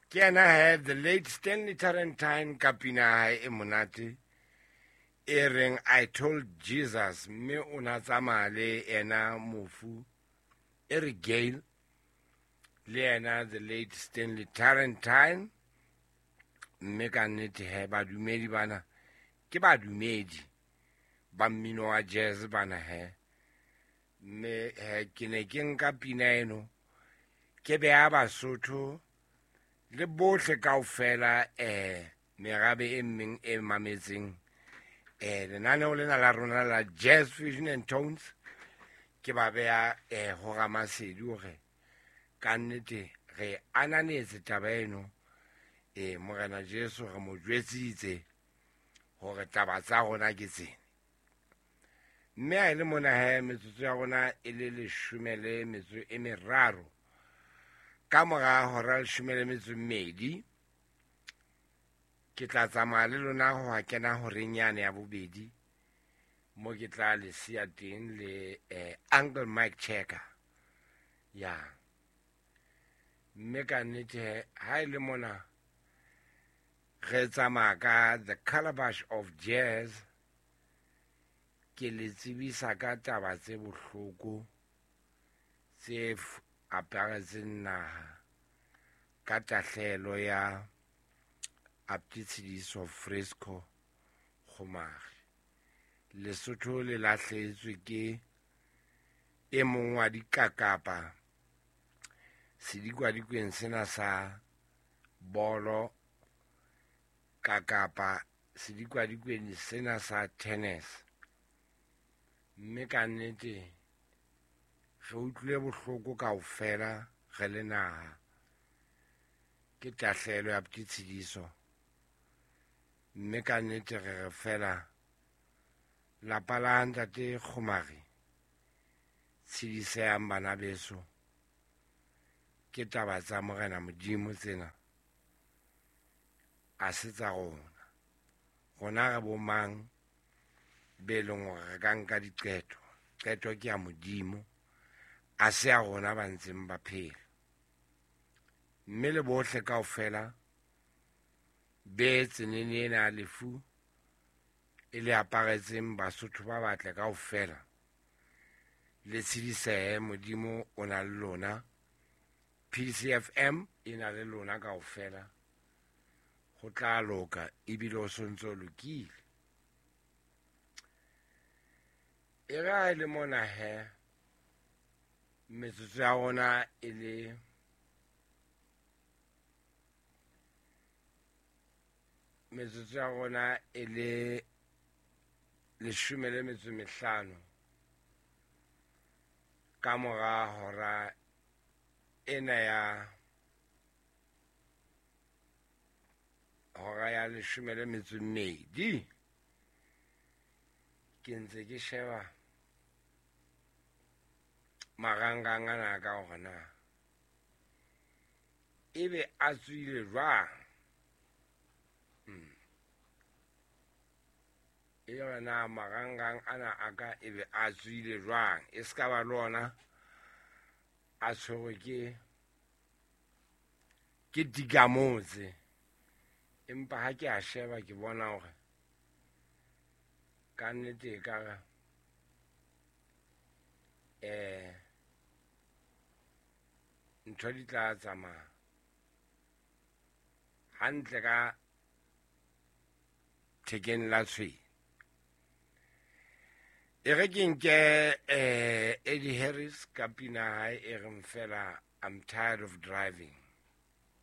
Ke yena he, the late Stanley Tarentine ka pina ya hae e monate e reng I Told Jesus, mme o na tsamaya le yena mofu Eric Gale le yena the late Stanley Tarentine. Mme ka nnete he, badumedi bana ke badumedi ba mmino wa jazz bana he. Mme he, ke ne ke nka pina eno ke beha Basotho le bohle kaofela, merabe e meng e mametseng lenaneo lena la rona la Jazz Fusion and Tones, ke ba beha ho Ramasedi hore ka nnete re ananetse taba eno. Morena Jesu re mo jwetsitse hore taba tsa rona ke tsena. Mme ha e le mona he, metsotso ya rona e le 13 ka mora hora 12, ke tla tsamaya le lona ho ha kena horeng yane ya bobedi, mo ke tla le siya teng le Uncle Mike Checker. Ya. Mme ka nnete he, ha e le mona re tsamaya ka The Calabash of Jazz, ke le tsebisa ka taba tse bohloko tse aparetseng naha ka tahlehelo ya Aptitshediso Fresco Kgomari. Lesotho le lahlehetswe ke e mong wa dikakapa sedikadikweng sena sa bolo, kakapa sedikadikweng sena sa tennis. Mme ka nnete re utlwile bohloko kaofela re le naha ke tahlehelo ya Aptitshediso. Mme ka nnete re re fela lapa la ntate Kgomari, tshedisehang bana beso, ke taba tsa Morena Modimo tsena, a se tsa rona. Rona re bo mang be leng hore re ka nka diqeto? Qeto ke ya Modimo, a se ya rona ba ntseng ba phela. Mme le bohle kaofela be tsenene ena ya lefu e le aparetseng Basotho ba batle kaofela, le tshedisehe, Modimo o na le lona. PCFM e na le lona kaofela, ho tla loka ebile o sontso lokile. E re ha e le mona he, metsotso ya rona e le metsotso ya rona e le 15 ka mora hora ena ya hora ya 12. Ke ntse ke sheba marangrang ana ka hore na ebe a tswile jwang. E re na marangrang ana a ka ebe a tswile jwang, e se ka ba le ona a tshwerwe ke dikamotse. Empa ha ke a sheba ke bona hore ka nnete e ka re, ntho di tla tsamaya hantle ka thekeng la tshwene. E re ke nke Eddie Harris ka pina hae e reng fela I'm tired of driving.